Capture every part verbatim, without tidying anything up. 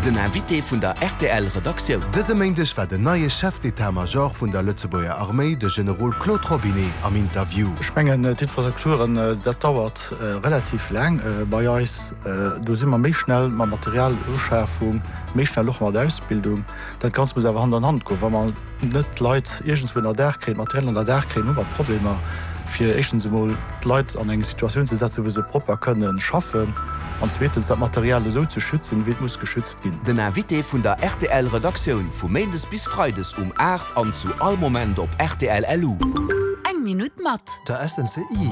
Den Invité vun der R T L Redaktioun. Dëse Méindeg war den neie Chef d'état-major vun der Lëtzebuerger Arméi, de Generol Claude Robinet, am Interview. Ech mengen, d'Infrastrukturen, dat dauert relativ laang bei eis. Do si mer méi schnell mat Materialuschafung, méi schnell och mat Ausbildung. Dat Ganzt muss awer Hand an Hand goen. Wa mer net d'Leit iergendswou ënnerdaach kréien, d'Material ënnerdaach kréien, hu mer Problemer fir éischtens emol d'Leit an eng Situatioun ze setzen, wou se propper kënne schaffen, an zweetens dat Material esou ze schützen, wéi et muss geschützt ginn. Den Invité vun der R T L Redaktioun vu Méindes bis Freides um aacht an zu all Moment op R T L L U. Eng Minutt mat. Der S N C I.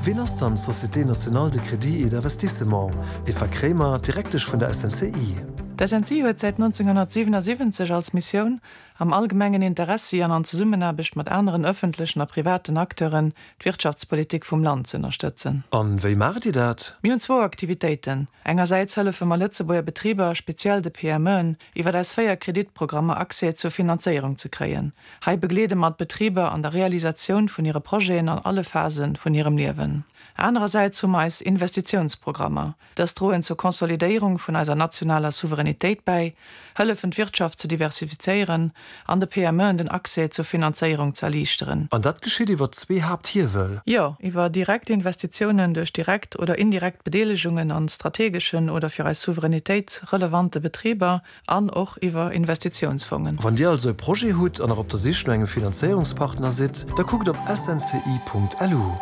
Wien ass dann d'Société nationale de crédit et d'investissement? Eva Kremer, Direktesch vun der S N C I. D'S N C I huet säit nonzénghonnertsiwenassiwwenzeg als Missioun, am allgemengen Interessi an an Zesummenaarbecht mat aneren ëffentlechen a privaten Acteuren d'Wirtschaftspolitik vum Land ze ënnerstëtzen. An wéi maacht Dir dat? Mir hunn zwou Aktivitéiten. Engersäits hëllefe mer Lëtzebuerger Betriber, speziell de P M Eën, iwwer eis véier Kreditprogrammer Accès zur Finanzéierung ze kréien. Hei begleede mer d'Betriber an der Realisatioun vun hire Projeten an alle Phase vun hirem Liewen. Anerersäits hu mer eis Investitiounsprogrammer. Dës droen zur Konsolidéierung vun eiser nationaler Souveränitéit bäi, hëllefen d'Wirtschaft ze diversifizéieren an de P M Eën den Accès zur Finanzéierung ze erliichteren. An dat geschitt iwwer zwee Haapthiewel. Jo, iwwer direkt Investitiounen duerch direkt oder indirekt Bedeelegungen an strategeschen oder fir eis Souveränitéit relevante Betriber an och iwwer Investitiounsfongen. Wann Dir also e Projet hutt an nach op der Sich no engem Finanzéierungspartner sidd, da kuckt op S N C I Punkt L U.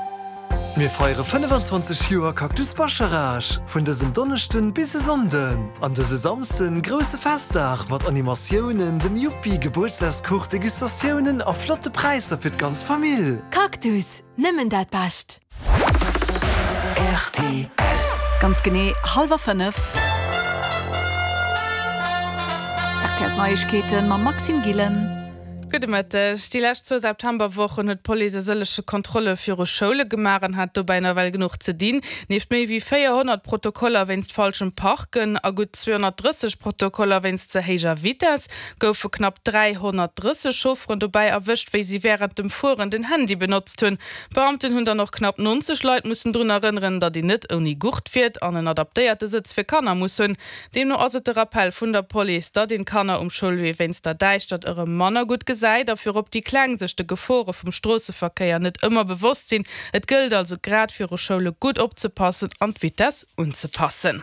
Mir feiere fënnefenzwanzeg Joer Cactus Bascharage vun dësem Donneschden bis e Sonnden. An dëse Samsden grousse Festdag mat Animatiounen, dem Yuppi, Gebuertsdagskuch, Degustatiounen a flotte Präisser fir d'ganz Famill. Cactus, nëmmen dat Bescht. R T L. Ganz genee hallwer fënnef. R T L Neiegkeeten mam Maxime Gillen. Gudde Mëtteg. Déi lescht zwou Septemberwochen huet d'Police e sëllege Kontrolle viru Schoule gemaach an hat dobäi nawell genuch ze dinn. Nieft méi wéi véierhonnert Protokoller wéinst falschem Parken a gutt zweehonnertdrësseg Protokoller wéinst ze héijer Vitess goufe knapp dräihonnertdrësseg Chaufferen dobäi erwëscht, wéi si wärend dem Fueren den Handy benotzt hunn. D'Beamten hunn dann och knapp nonzeg Leit mussen drun erënneren, datt een net ouni Gurt fiert an en adaptéierte Sëtz fir Kanner muss hunn. Deemno ass et de Rappell vun der Police, datt een Kanner um Schoulwee wéinst der Däischtert erëm manner gutt gesäit a virop déi Kleng sech de Gefore vum Stroosseverkéier net ëmmer bewosst sinn. Et gëllt also grad viru Schoule gutt opzepassen an d'Vitess unzepassen.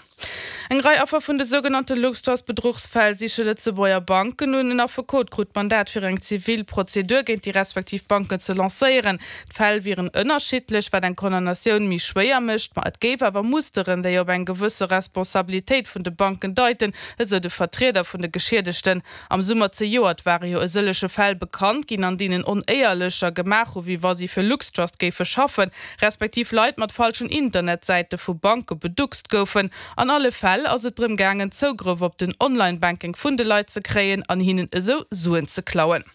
Eng Rei Affer vun de sougenannte LuxTrust-Bedruchsfäll siche Lëtzebuerger Banken un. En Affekot krut d'Mandat fir eng zivil Prozedur géint déi respektiv Banken ze lancéieren. D'Fäll wieren ënnerschiddlech, wat eng Condamnatioun méi schwéier mécht, ma et géif awer Musteren, déi op eng gewësse Responsabilitéit vun de Banken deiten, esou de Vertrieder vun de Geschiedegten. Am Summer zejoert ware jo e sëllege Fäll bekannt ginn, an deenen Onéierlecher gemaach hu wéi wa si fir LuxTrust géife schaffen, respektiv Leit mat falschen Internetsäite vu Banke beduckst goufen. An alle Fäll ass et drëm gaangen, Zougrëff op den Online-Banking vun de Leit ze kréien an hinnen esou Suen ze klauen.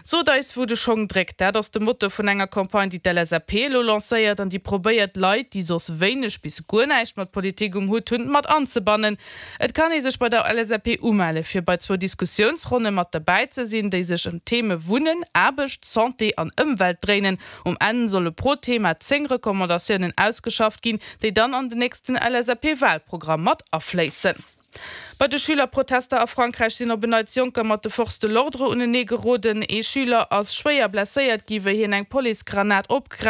Sot eis wou de Schong dréckt, dat ass de Motto vun enger Campagne, déi d'L S A P elo lancéiert an déi probéiert Leit, déi soss wéineg bis guer näischt mat Politik um Hutt hunn, mat anzebannen. Et kann ee sech bei der L S A P umelle fir bei zwou Diskussiounsronne mat derbäi ze sinn, déi sech ëm d'Theme Wunnen, Aarbecht, Santé an Ëmwelt dréinen. Um Enn solle pro Thema zéng Recommandatiounen ausgeschafft ginn, déi dann an den nächsten L S A P-Walprogramm mat afléissen. Bei de Schülerprotester a Frankräich sinn op en Neits Jonker mat de Forces de l'ordre unenee geroden. Ee Schüler ass schwéier blesséiert ginn, wéi hien eng Policegranat opgegraff